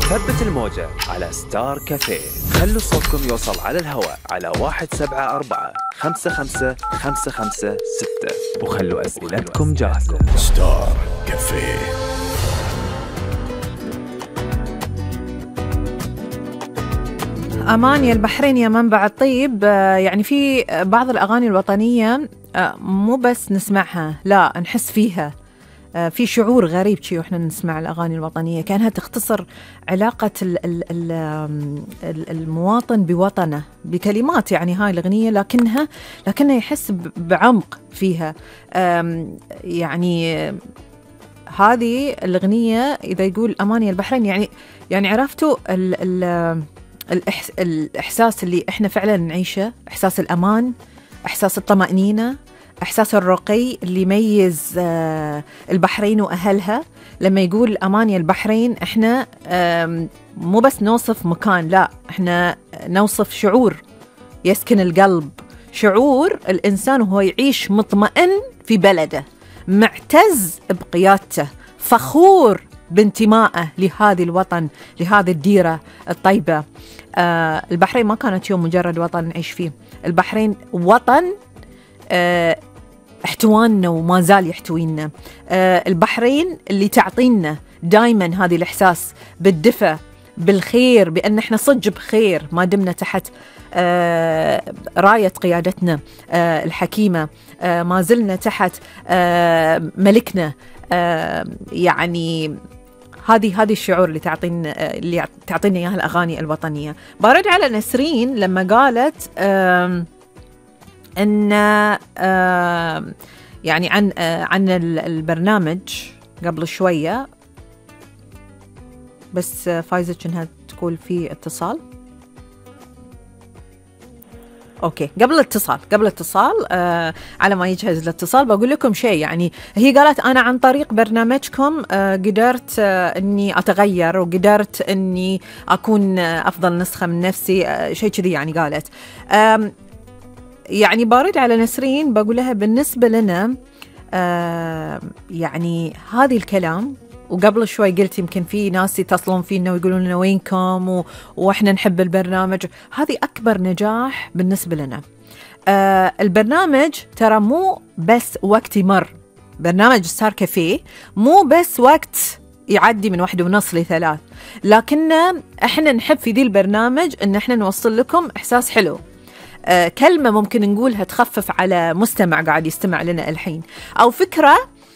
ثبت الموجة على ستار كافيه. خلوا صوتكم يوصل على الهواء على 174-55-556 وخلوا أسئلتكم جاهزة. ستار كافيه. أمان يا البحرين يا منبع الطيب. يعني في بعض الأغاني الوطنية مو بس نسمعها، لا نحس فيها. في شعور غريب شيء وإحنا نسمع الأغاني الوطنية، كأنها تختصر علاقة المواطن بوطنه بكلمات. يعني هاي الأغنية لكنها يحس بعمق فيها. يعني هذه الأغنية إذا يقول أمان يا البحرين، يعني عرفتوا الإحساس اللي إحنا فعلا نعيشه، إحساس الأمان، إحساس الطمأنينة، إحساس الرقي اللي يميز البحرين وأهلها. لما يقول أمان يا البحرين، إحنا مو بس نوصف مكان، لا إحنا نوصف شعور يسكن القلب، شعور الإنسان وهو يعيش مطمئن في بلده، معتز بقيادته، فخور بانتمائه لهذه الوطن، لهذه الديرة الطيبة. البحرين ما كانت يوم مجرد وطن نعيش فيه، البحرين وطن احتواننا وما زال يحتوينا. البحرين اللي تعطينا دايما هذه الإحساس بالدفء، بالخير، بأن احنا صج بخير ما دمنا تحت راية قيادتنا الحكيمة، ما زلنا تحت ملكنا. يعني هذه الشعور اللي تعطينا اياها الاغاني الوطنيه. برد على نسرين لما قالت ان يعني عن البرنامج قبل شويه، بس فايزة انها تقول في اتصال. اوكي، قبل الاتصال على ما يجهز الاتصال بقول لكم شيء. يعني هي قالت انا عن طريق برنامجكم قدرت اني اتغير، وقدرت اني اكون افضل نسخة من نفسي، شيء كذي يعني قالت. يعني بارد على نسرين بقول لها بالنسبة لنا يعني هذه الكلام، وقبل شوي قلت يمكن في ناس يتصلون فينا ويقولون لنا وينكم وإحنا نحب البرنامج. هذه أكبر نجاح بالنسبة لنا. البرنامج ترى مو بس وقت يمر، برنامج ستار كافيه مو بس وقت يعدي من 1:30 ل3، لكن إحنا نحب في ذي البرنامج إن إحنا نوصل لكم إحساس حلو، كلمة ممكن نقولها تخفف على مستمع قاعد يستمع لنا الحين، أو فكرة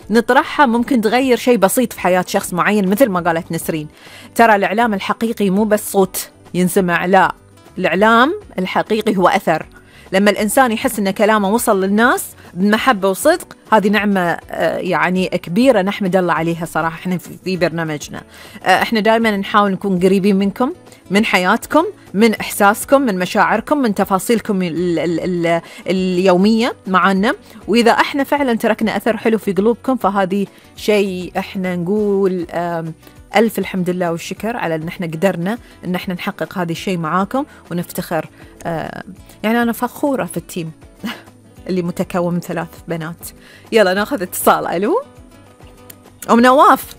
نطرحها ممكن تغير شيء بسيط في حياة شخص معين. مثل ما قالت نسرين، ترى الإعلام الحقيقي مو بس صوت ينسمع، لا، الإعلام الحقيقي هو أثر. لما الإنسان يحس أن كلامه وصل للناس بمحبة وصدق، هذه نعمة يعني كبيرة نحمد الله عليها صراحة. احنا في برنامجنا احنا دائما نحاول نكون قريبين منكم، من حياتكم، من إحساسكم، من مشاعركم، من تفاصيلكم اليومية معنا. وإذا احنا فعلا تركنا أثر حلو في قلوبكم، فهذه شيء احنا نقول ألف الحمد لله والشكر على أن احنا قدرنا أن احنا نحقق هذا الشيء معاكم ونفتخر. يعني أنا فخورة في التيم اللي متكون من 3 بنات. يلا ناخذ اتصال. ألو أم نواف.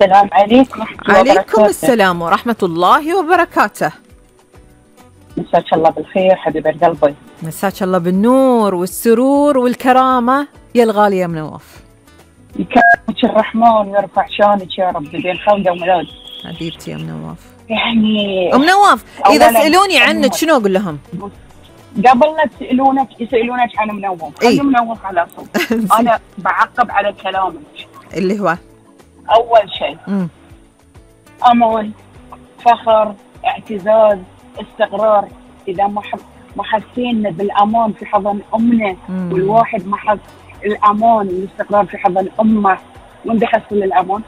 السلام عليكم. عليكم السلام ورحمة الله وبركاته. مساك الله بالخير حبيبة قلبي. مساك الله بالنور والسرور والكرامة يا الغالية يا منواف. يكرمك الرحمن ويرفع شانك يا رب بين خلقه وميلاد. حبيبتي يا منواف. يعني أم نواف إذا سألوني عنك شنو أقول لهم؟ قبل لا يسألونك عن منوف، خلي منوف على صوت. أنا بعقب على كلامك اللي هو أول شيء أمان، فخر، اعتزاز، استقرار. إذا ما حسينا بالأمان في حضن أمنا، والواحد ما حس الأمان والاستقرار في حضن أمه، وين بيحصل الأمان؟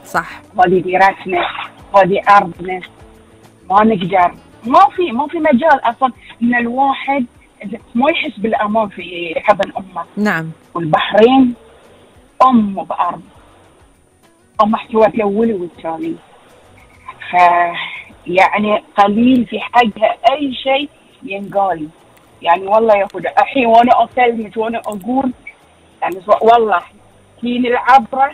صح. هذه ديرتنا، هذه أرضنا، ما نقدر، ما في مجال أصلا إن الواحد ما يحس بالأمان في حضن أمه. نعم. والبحرين أم بأرض، أم احتوت الأول والثاني، يعني قليل في حقها أي شيء ينقال. يعني والله يا أخوي الحين وأنا أكلمك وأنا أقول يعني والله كين العبرة